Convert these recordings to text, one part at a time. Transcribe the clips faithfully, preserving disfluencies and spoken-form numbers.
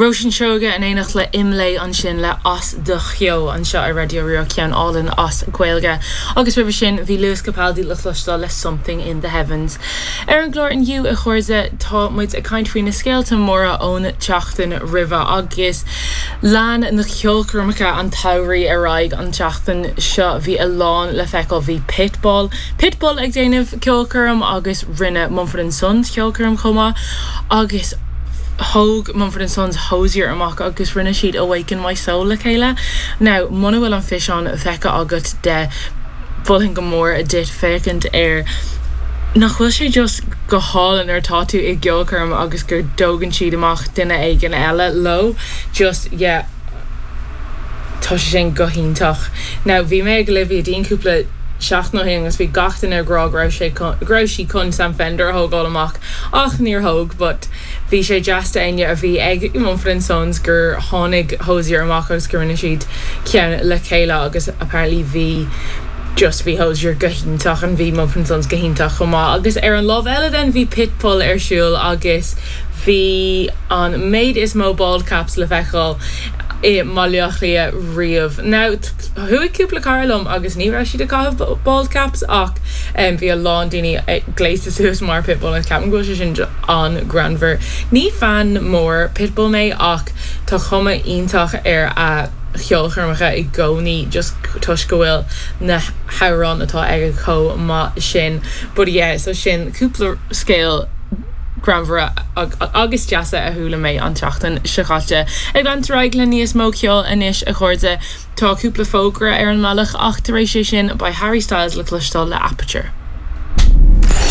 Róisín Seoige in éineacht le Imlé ansin le As do Cheo anseo ar Raidió Rí-Rá ceann álainn as Gaeilge. Agus roimhe sin bhí Lewis Capaldi le cloisteáil le Something in the Heavens. Ar an gclár inniu a chairde tá muid ag caint faoi na scéalta móra ón tseachtain roimhe agus lean na ceolchoirmeacha an tsamhraidh ar aghaidh an tseachtain seo bhí a lán le feiceáil bhí Pitbull. Pitbull ag déanamh ceolchoirm agus rinne Mumford and Sons ceolchoirm chomh maith agus thóg Mumford and Sons Hozier amach agus rinne siad Awaken My Soul le chéile. Now muna bhfuil an físeán feicthe agat de mholfainn go mór duit féachaint air nach bhfuil sé just go hálainn nuair atá tú i gceolchoirm agus go dtógann siad amach duine éigin eile leo just yeah tá sé sin go hiontach. Now bhí mé ag Olivia Dean cúpla seachtain ó shin agus bhí gach duine ag rá go raibh sé go raibh sí chun Sam Fender a thógáil amach ach níor thóg, but bhí sé deas d'ainne a bhí ag Mumford and Sons gur tháinig Hozier amach agus gur rinne siad ceann le chéile agus apparently bhí just bhí Hozier go hiontach an bhí Mumford and Sons go hiontach chomh maith agus ar an lámh eile den bhí Pitbull ar siúl agus bhí an méid is mó bald caps le feiceáil i mBaile Átha Cliath riamh. Now chuaigh cúpla cara liom agus ní raibh siad ag caitheamh bald caps ach um, bhí a lán daoine gléasta suas mar Pitbull an ceapaim go bhfuil sé sin an-ghreannmhar. Ní fan mór Pitbull mé ach tá cuma iontach ar a cheolchoirmeacha i gcónaí just toisc go bhfuil na hamhráin atá aige chomh maith sin. But yeah, so sin cúpla scéal greannmhara agus deasa a chuala mé an tseachtain seo caite. Ag leanúint ar aghaidh le níos mó ceoil anois a chairde tá cúpla fógra ar an mbealach ach tar éis sé sin beidh Harry Styles le cloisteáil le Aperture.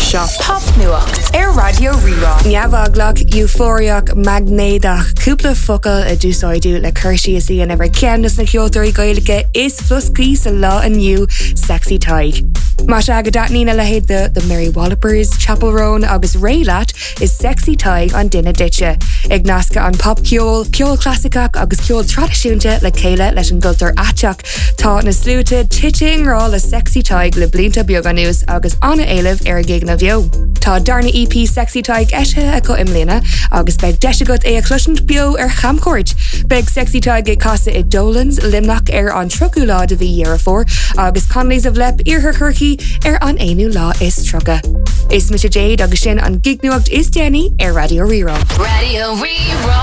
Seo Popnuacht ar Raidió Rí-Rá. Neamheaglach, eufóriach, maighnéadach, cúpla focal a d'úsáideadh le cur síos a dhéanamh ar cheann de na ceoltóirí Gaeilge is floscaí sa lá inniu Sexy Tadhg. Más ea go dtaitníonn a leithéid de The Mary Wallopers, Chappell Roan agus Raye leat is Sexy Tadhg an duine duitse. Ag nascadh an popcheol, ceol clasaiceach agus ceol traidisiúnta le chéile leis an gcultúr aiteach. Tá na sluaite tite i ngrá le Sexy Tadhg le blianta beaga anuas agus an-éileamh ar a gigeanna beo. Tá darna EP Sexy Tadhg eisithe acu i mbliana agus beidh deis agat é a chloisint beo ar chamchuairt. Beidh Sexy Tadhg ag casadh i Dolan's Luimneach ar an tríochú lá de mhí Dheireadh Fómhair agus Connolly's of Leap Iarthar Chorcaí ar an aonú lá is tríocha. Is mise Jade agus sin an gignuacht is déanaí ar Raidió Rí-Rá. Raidió Rí-Rá.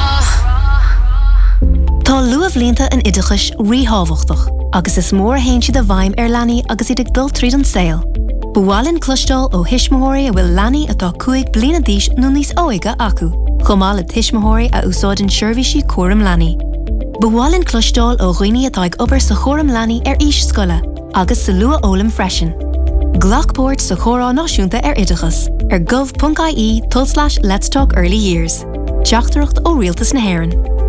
Tá luathbhlianta an oideachais ríthábhachtach agus is mór a théann siad i bhfeidhm ar leanaí agus iad ag dul tríd an saol. Ba mhaith linn cloisteáil ó thuismitheoirí a bhfuil leanaí atá cúig bliana d'aois nó níos óige acu, chomh maith le tuismitheoirí a úsáideann seirbhísí cúram leanaí. Ba mhaith linn cloisteáil ó dhaoine atá ag obair sa chúram leanaí ar aois scoile agus sa luathfhoghlaim freisin. Glac páirt sa chomhrá náisiúnta ar oideachas ar gov.ie tulslais Let's Talk Early Years. Teachtaireacht ó Rialtas na hÉireann.